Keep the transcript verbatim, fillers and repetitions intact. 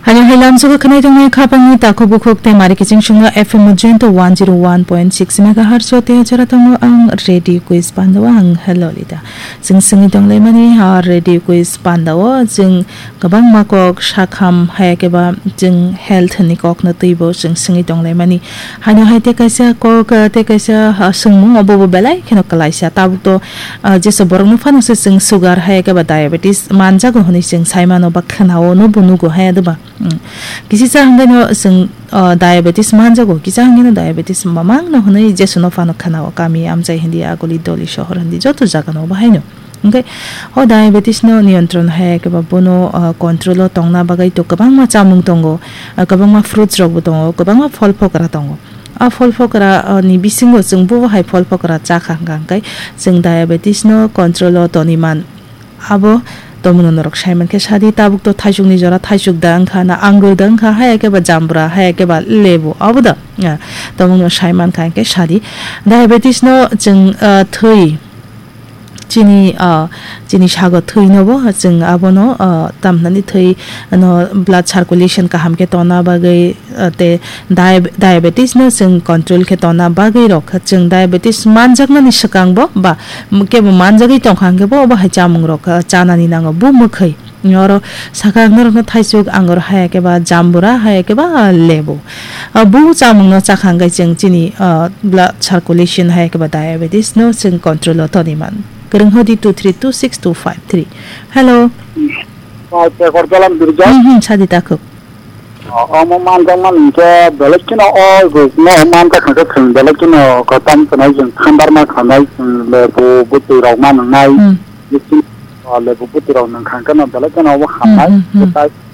Ani hai lamsogo khwnai tongnai khapangni takhuk bukhuk tei mari kiching swngo F M Ujjain to one zero one point six megahertz o tei jora tongo ang Radio Quiz Pandao ang Lolita. Chwng swngwi tonglaimani ha Radio Quiz Pandao chwng kwbangma kok sakham hai khe ba chwng health ni kok no twibo chwng swngwi tonglaimani. Haino hai tei kaisa kok, ah, tei kaisa, ah, swngmung obo bo belai kheno kwlaisa. Tabuk to, ah, jesa borok no phano se chwng sugar hai khe ba diabetes manjago hwnwi chwng sai mano ba khwnao no bo nugo hai de ba. Hmm. Kisi cha hwnkheno chwng, ah, diabetes manjago, kisa hwnkheno diabetes mamang no hwnwi jesuno phano khwnao kami amchai hindi aguli doli sohor hindi joto jaga no bo haino. Hwnkhe o diabetes no niyantron hai khe ba bono, ah, control o tongna bagwi to kwbangma chamung tongo, ah, kwbangma fruits rok bo tongo, kwbangma phol phokra tongo. A phol phokra, ah, ni bisingo chwng bo hai phol phokra cha kha hwnkha hwnkhe chwng diabetes no control o toni man. Abo tomungno norok sai mankhe sadi, tabuk to thaisukni jora thaisuk da wngkha na angur da wngkha hai khe ba jambra hai khe ba lebu abo da, ah, tomungno sai mankha hwnkhe sadi. Diabetes no chwng, ah, thwi chini, ah, chini sago thwi no bo chwng abono, ah, tamhinani thwi no blood circulation kaham khe tongna bagwi, ah, tei diab-, diabetes no chwng control khe tongna bagwi rok chwng diabetes manjaknani swkang bo ba kebo manjagwi tongkha hwnkhe bo obo hai chamung rok, ah, chanani nango bo mwkhwi. Oro sakha ang norokno thaisuk angur hai khe ba jambura hai khe ba lebu. Ah, bo chamung no chakha hwnkhe chwng chini, ah, blood circulation hai khe ba diabetes no chwng control o toni man. Kwrwng hodi two three two six two five three. Hello. Pai pekor jalam birja. Hmm, hmm, sadi takhuk. O, omo manjak man hwnkhe belai kheno o ruk no manjak hwnkhe chwng belai kheno kwtam khwnai chwng thandar ma khwnai chwng lebu bwtwi rok ma nwngnai. Hmm. Bising, o, lebu bwtwi rok nwng kha hwnkhe no belai kheno obo Hmm, hamnai. Hmm, hmm. Tei